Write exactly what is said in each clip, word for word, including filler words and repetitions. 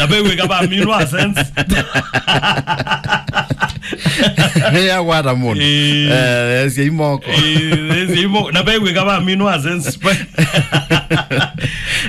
Vewĩka vaminwa sense. Yakwata mũndũ. Eh. Eh, sia imoko. Eh, sia imoko. Na vewĩka vaminwa sense.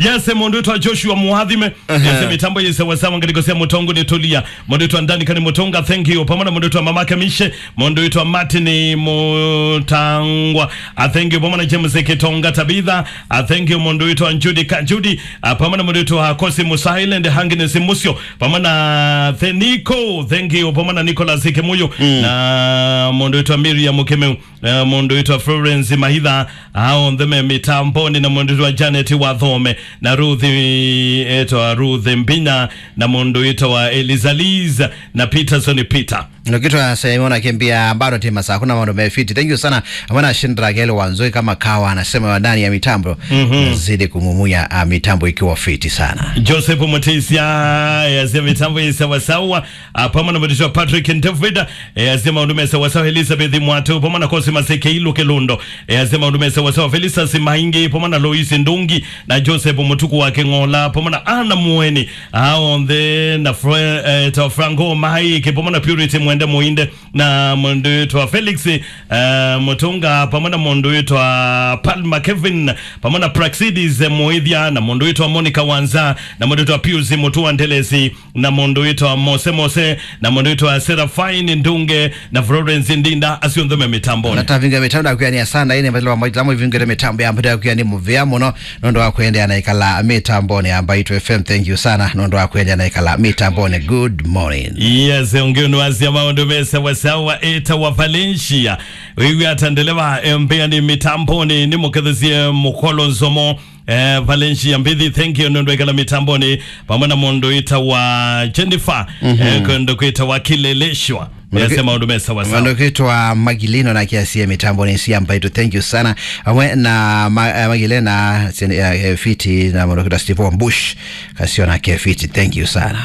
Yes, mũndũ wĩtwa Joshua Mwathime. Yes, mĩtambo yĩ sawa sawa, ngalĩko sya Mũtongo nĩ Tulia. Mũndũ wĩtwa Ndani Kani Mũtonga, thank you. Pamwe na mũndũ wĩtwa Mamake Mishe, mũndũ wĩtwa Martin Mũtangwa. A, thank you. Pamwe na James Kitonga Tabitha. A, thank you. Mũndũ wĩtwa Judy Ka-, Judy. A, pamwe na mũndũ wĩtwa Kosi Musa Island, Agnes Musyo. Pamwe na Theniko, thank you. Pamwe na Nicholas Kimuyu. Mm. Na mũndũ wĩtwa Miriam Kimeu. Eh, mũndũ wĩtwa Florence Mahitha, a, onthe me mĩtamboni, na mũndũ wĩtwa Janet Wathome, na Ruth, etwa Ruth Mbinya, na mũndũ wĩtwa Elizaliz, na Peterson Peter. Nokitwa Simona Kembia, bado tema saa, kuna mambo mefiti. Thank you sana. Amana Shindra Gelo Wanzoi kama kawa anasema wa ndani ya mitambo. Mhm. Nazidi kumumuya, ah, mitambo ikiwa fiti sana. Joseph Mutisia, yasema mitambo isawasawa. Ah, pamwe na mũndũ wĩtwa Patrick David, eh, asema maũndũ me sawasawa. Elizabeth Mwatu, pamwe na Kosi Maseke Ilu Kilundo, eh, asema maũndũ me sawasawa. Felicitas Maingi, pamwe na Lois Ndungi, na Joseph Mutuku wa King'ola, pamwe na Anna Mueni, a, onthe, na Fra-, eh, ta Franco Mahaiki, pamwe na Purity Mwende Muinde, na mũndũ wĩtwa Felix, eh, Mutunga, pamwe na mũndũ wĩtwa Palma Kevin, pamwe na Praxidis, eh, Muithia, na mũndũ wĩtwa Monica Wanza, na mũndũ wĩtwa Pius Mutua Ndelesi, na mũndũ wĩtwa Mose Mose, na mũndũ wĩtwa Seraphine Ndunge, na Florence Ndinda, asu onthe me mĩtamboni. Natavinga mitambo ya kuyani asanda, ine mbatilo wa maitamo ivingire mitambo ya mbata ya kuyani muvea mũno, nũndũ wa kuendeea na ikala mitamboni ya Mbaitu F M. Thank you sana, nũndũ wa kuendeea na ikala mitamboni. Good morning. Yes, ũngĩ ũnũ asya maũndũ me sawasawa, eta wa Valencia. Wĩw'a ata ndeleva, eh, mbeani mitamboni, nĩ mũkethesye mũkolo nzomo. Eh, Valencia Mbithi, thank you, nũndũ wa ikala mitamboni, pamwe na mũndũ wĩtawa Jennifer, mhm, eh, kũndũ kwĩtawa Kileleshwa. Mũndũ ki-, yasema maũndũ me sawasawa. Mũndũ kwĩtwa Magilino na kiasi ya mitamboni cia Mbaitu, thank you sana. Pamwe na ma-, eh, Magilena, sen-, eh, eh, fiti, na mũndũ kwĩtwa Steve Bush, kasio na ke fiti, thank you sana.